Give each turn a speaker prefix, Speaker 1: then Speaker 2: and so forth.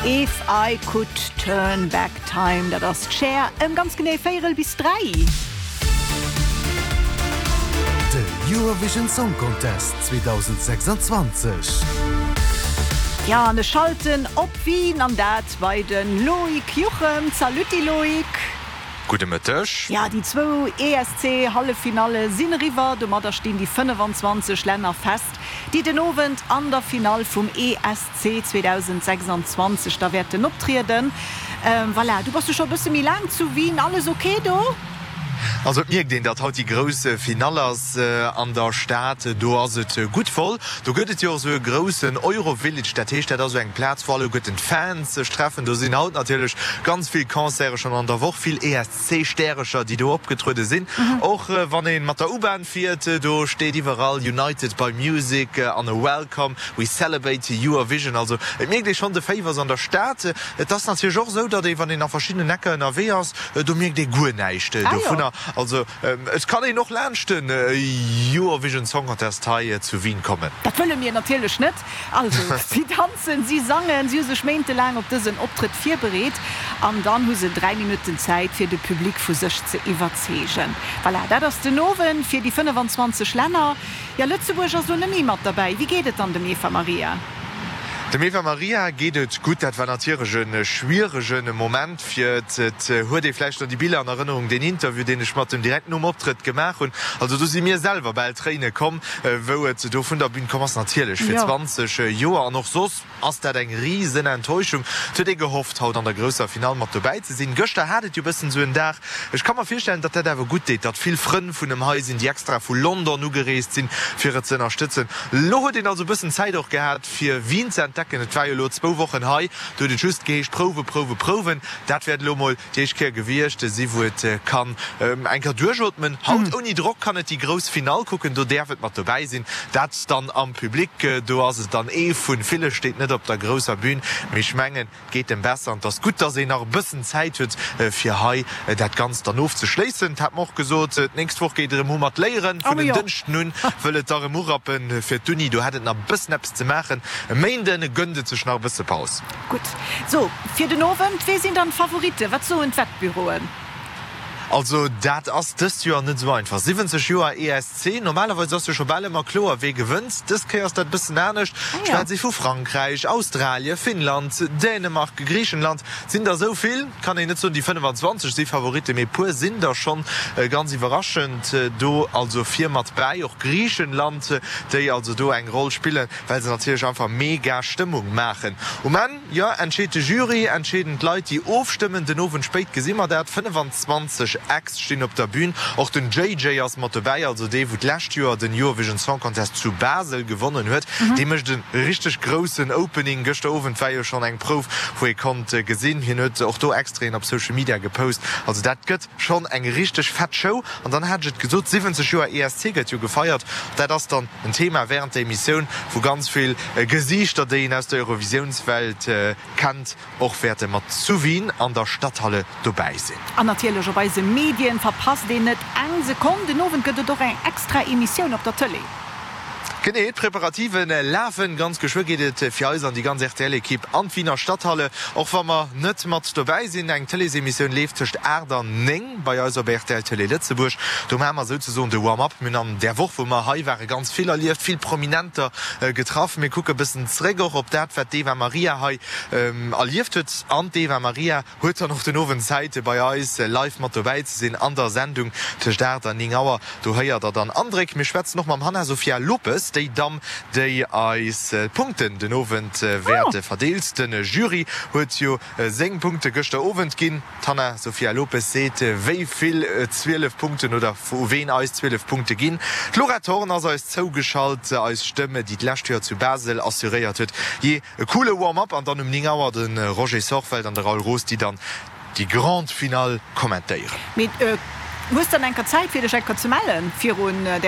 Speaker 1: If I could turn back time, dat ass d'Cher ëm ganz genee véierel bis 3.
Speaker 2: De Eurovision Song Contest 2026.
Speaker 1: Jo, an ech schalten op Wien, an dat bei de Loïc Juchem. Zalütti Loïc.
Speaker 3: Gudde Mëtteg.
Speaker 1: Jo, déi zwou ESC-Halleffinalle sinn eriwwer. Domadder stinn déi 25 Länner fest, déi den Owend an der Finall vum ESC 2026 da wäerten optrieden. Voilà, du bass jo scho e bësse méi laang zu Wien. Alles ok do?
Speaker 3: Also et mierkt een, datt haut déi grouss Finall ass an der Stad. Do ass et gutt voll. Do gëtt et jo och esou e groussen Eurovillage. Dat heescht, dat ass esou eng Plaz, wou alleguerten d'Fans sech treffen. Do sinn haut natierlech ganz vill Concerte schonn an der Woch, vill ESC-Stärecher, déi do opgetruede sinn. Och wann ee mat der U-Bahn fiert, do steet iwwerall United by Music an e Welcome, we celebrate Eurovision. Also et mierkt ee schonn, de Féiwer ass an der Stad. Et ass natierlech och esou, datt ee, wann een a verschiddenen Ecker ënnerwee ass, do mierkt ee guer näischt dovunner. Also et kann een och laanscht den Eurovision Song Contest hei zu Wien kommen.
Speaker 1: Dat wëlle mir natierlech net. Also si danzen, si sangen, si hu sech méintelaang op dësen Optrëtt virbereet an dann hu se 3 Minutten Zäit fir de Public vu sech ze iwwerzeegen. Voilà, dat ass den Owend fir déi 25 Länner. Jo, Lëtzebuerg ass lo net méi mat derbäi. Wéi geet et dann dem Eva Maria?
Speaker 3: Dem Eva Maria geet et gutt. Dat war natierlech e schwierege Moment fir et. Et huet ee vläicht nach déi Biller an Erënnerung, deen Interview, deen ech mat em direkt nom Optrëtt gemaach hunn. Also do si mir selwer bal Tréine komm, wou et do vun der Bün komm ass. Natierlech fir 20 Joer an och soss ass dat eng risen Enttäuschung. Et huet ee gehofft, haut an der grousser Finall mat dobäi ze sinn. Gëschter hat et jo bëssen esou en Dag. Ech ka mer virstellen, datt dat awer gutt deet, datt vill Frënn vun em hei sinn, déi extra vu London ugereest sinn, fir et ze ënnerstëtzen. Lo huet een also e bëssen Zäit och gehat fir Wien ze entdecken. Et war jo elo zwou Wochen hei, do huet et just geheescht Prouwe, Prouwe, Prouwen. Dat wäert elo mol déi éischt Kéier gewiescht si wou et kann eng Kéier duerchootmen. Haut ouni Drock kann et déi grouss Finall kucken, do däerf et mat dobäi sinn. Dat dann am Public, do ass et dann ee vu ville, steet net op der grousser Bün, mee ech mengen, Geet em besser an et ass gutt, dass een nach e bëssen Zäit huet, fir hei dat Ganzt dann ofzeschléissen. Et hat mer och gesot, d'nächst Woch geet et erëm u mat Léieren. Vun en Dënschden un wëll et da erëm urappen fir d'Uni. Do hätt et nach e bëssen eppes ze maachen. E Méinde gënnt et sech nach e bësse Paus.
Speaker 1: Gutt, sou fir den Owend, wee sinn dann d'Favoritten? Wat soen d'Wettbüroen?
Speaker 3: Also dat ass dëst Joer net esou einfach. 70 Joer ESC, normalerweis ass jo scho bal ëmmer kloer wee gewënnt. Dës Kéier ass dat e bëssen anescht. Ech well si vu Frankräich, Australie, Finnland, Dänemark, Griichenland, et sinn der esou vill, kann een net soen déi 25 si Favoritten, mee e puer sinn der schonn ganz iwwerraschend do also vir mat bäi. Och Griichenland, déi also do eng Roll spillen, well se natierlech einfach mega Stëmmung maachen um Enn. Jo, entscheet de Jury, entscheeden d'Leit, déi ofstëmmen. Den Owend spéit gesi mer dat. 25 Acts stinn op der Bün. Och den JJ ass mat dobäi, also dee wou d'lescht Joer den Eurovision Song Contest zu Basel gewonnen huet. Dee mécht e richteg groussen Opening. Gëschter Owend war jo schonn eng Prouf, wou ee konnt gesinn, hien huet och do Extraiten op Social Media gepost. Also dat gëtt schonn eng richteg fett Show. An dann hat ech et gesot, 70 Joer ESC gëtt jo gefeiert. Dat ass dann En Thema wärend der Emissioun, wou ganz vill Gesiichter, déi een aus der Eurovisiounswelt kennt, och wäerte mat zu Wien an der Stadthalle dobäi sinn.
Speaker 1: An natierlech op eise Medien verpasst een net eng Sekonn. Den Owend gëtt et och eng extra Emissioun op der Tëlee.
Speaker 3: Genee, d'Preparative lafen. Ganz geschwë geet et fir eis an déi ganz RTL-Ekipp an d'Wiener Stadthalle, och wa mer net mat dobäi sinn. Eng Tëleesemissioun leeft tëscht 8 an 9. Bei eis op rtl Télé Lëtzebuerg, do maache mer souzesoen de Warm-up. Mir hunn an där Woch, wou mer hei waren, ganz vill erlieft, vill Prominenter getraff. Mir kucke bëssen zréck och op dat, wat d'Eva Marija hei erlieft huet. An d'Eva Marija huet dann och den Owend Zäit, bei eis live mat dobäi ze sinn an der Sendung tëscht 8 an 9 Auer. Do héiert der dann Andréck. Mir schwätzen och mam Hanna Sofia Lopes, déi Damm, déi eis d'Punkten den Owend wäert verdeelt. De Jury huet jo seng Punkte gëschter Owend ginn. D'Hanna Sofia Lopes seet, wéi vill 12 Punkten oder u ween eis 12 Punkte ginn. D'Laura Thorn ass eis zougeschalt, eis Stëmm, déi d'lescht Joer zu Basel assuréiert huet. Jee, e coole Warm-up an dann um 9 Auer de Roger Sorfeld an de Raoul Roos, déi dann déi Grande Finale kommentéieren.
Speaker 1: Mee hues dann enker Zäit fir dech enker ze mellen virun der.